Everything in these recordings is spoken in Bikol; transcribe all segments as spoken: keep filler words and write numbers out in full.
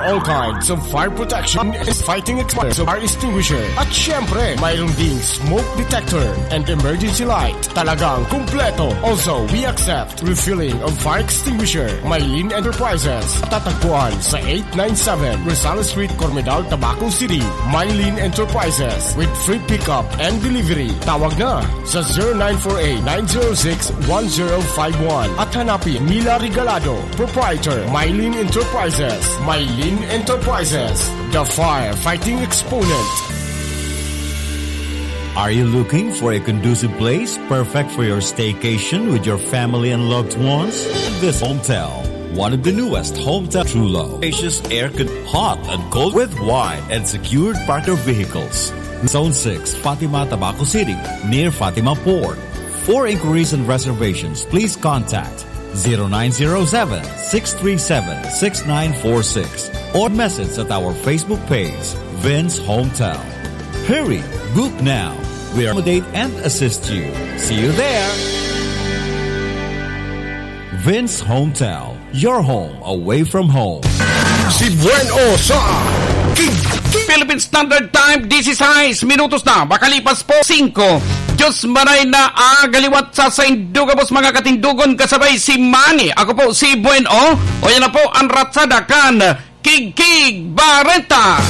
All kinds of fire protection and fighting experts of fire extinguisher. At syempre, mayroon ding smoke detector and emergency light. Talagang kumpleto. Also, we accept refilling of fire extinguisher. Mylene Enterprises. Tatagpuan sa eight nine seven Rosales Street, Cormedal, Tabaco City. Mylene Enterprises with free pickup and delivery. Tawag na sa zero nine four eight, nine zero six, one zero five one at hanapin Mila Regalado, proprietor, Mylene Enterprises. Mylene Enterprises, the firefighting exponent. Are you looking for a conducive place perfect for your staycation with your family and loved ones? This Hometel, one of the newest Hometel True Love. Spacious air con-, hot and cold with wide and secured parked vehicles. Zone six, Fatima, Tabaco City, near Fatima Port. For inquiries and reservations, please contact zero nine zero seven, six three seven, six nine four six or message at our Facebook page, Vince Hometel. Hurry! Book now! We accommodate and assist you. See you there! Vince Hometel, your home away from home. Si Buen O sa King. Philippine Standard Time, disisais minutos na, makalipas po singko. Diyos maray na agaliwat sa saindo gabos, mga katindogon, kasabay si Manny. Ako po si Buen O. O, yan na po ang ratsada kan Kigkig Bareta.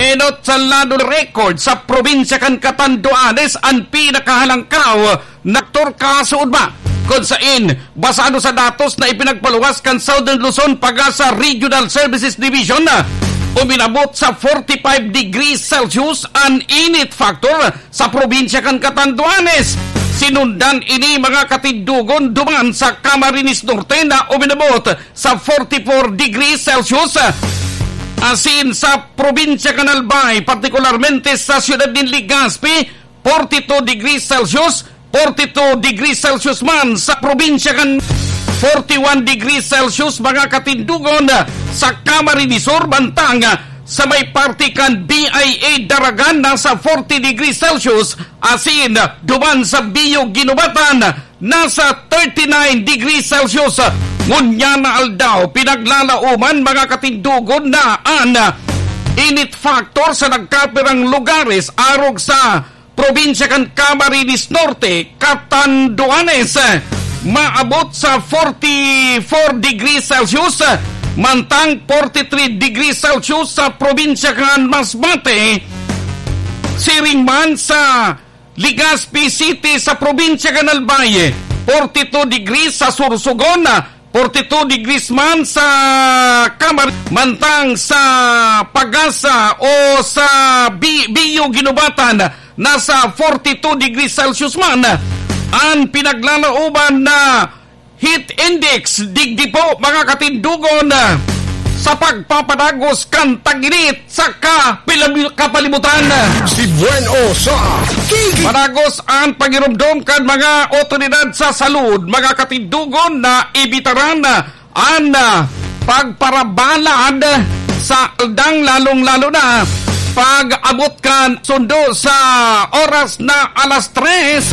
Enot sa lado record sa probinsya kan Catanduanes an pinakahalangkaw na faktor kasuodma, kun sain, basado sa datos na ipinagpaluwas kan Southern Luzon Pag-asa Regional Services Division, uminabot sa forty-five degrees Celsius an init factor sa probinsya kan Catanduanes. Sinundan ini, mga katindogon, duman sa Camarines Norte na uminabot sa forty-four degrees Celsius. Asin sa probinsya kan Albay, partikularmente sa siyudad nin Legazpi, forty-two degrees Celsius, forty-two degrees Celsius man sa probinsya kan, forty-one degrees Celsius, mga katindogon, sa Camarines Sur, mantang sa may parte kan B I A Daragan, nasa forty degrees Celsius, asin duman sa Bio Guinobatan, nasa thirty-nine degrees Celsius. Ngunyan na aldaw, pinaglalaoman, mga katindogon, na an init factor sa nagkapirang lugares arog sa probinsya kan Camarines Norte, Catanduanes, maabot sa forty-four degrees Celsius, mantang forty-three degrees Celsius sa probinsya kan Masbate. Siring man sa Legazpi City sa probinsya kan Albay, forty-two degrees sa Sorsogon, forty-two degrees man sa Camar-, mantang sa Pag-asa o sa Bi-, Bio Guinobatan, nasa forty-two degrees Celsius man. An pinaglalaoban na heat index, digdi po, mga katindogon, sa pagpapadagos kan tag-init sa kapilab-, kapalibutan. Si Buen O sa Kiki. Padagos an pagiromdom kan mga otoridad sa salud, mga katindogon, na ibitaran an, ah, pagparabalad sa aldang, lalong-lalo na pag-abot kan sundo sa oras na alas tres,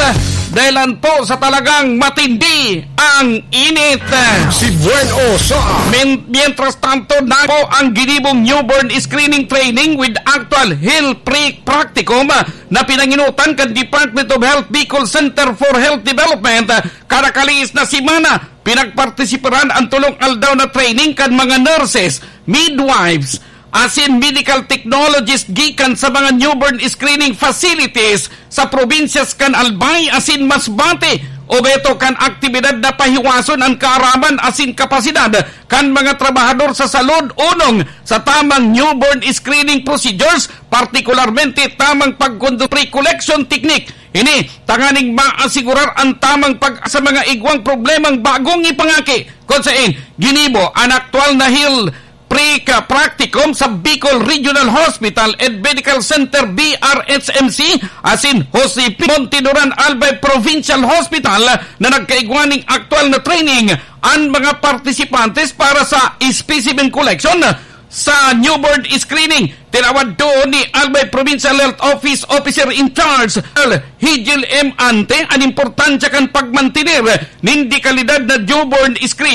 dahilan po sa talagang matindi ang init. Si Buen O sa. Min-, mientras tanto, na po ang ginibong newborn screening training with actual hill pre-, practicum na pinanginutan kan Department of Health Bicol Center for Health Development. Kada kalihis na semana, pinagpartisiparan ang tolong aldaw na training kan mga nurses, midwives, asin medical technologist gikan sa mga newborn screening facilities sa probinsyas kan Albay asin Masbate. Obheto kan aktibidad na pahiwason an kaaraman asin kapasidad kan mga trabahador sa salud onong sa tamang newborn screening procedures, partikularmente tamang pagkondo-, pre-collection technique. Ini tanganing maasigurar an tamang pag sa mga igwang problemang bagong ipangaki. Kun sain, ginibo an aktual na hill pre-, ka-, practicum sa Bicol Regional Hospital and Medical Center, B R H M C, asin Jose P. Monteduran Albay Provincial Hospital na nagkaigwa ning aktual na training an mga partisipantes para sa specimen collection sa newborn screening. Tinawad duon ni Albay Provincial Health Office Officer in Charge, Higil M. Ante, an importansya kan pagmantener nin dekalidad na newborn screening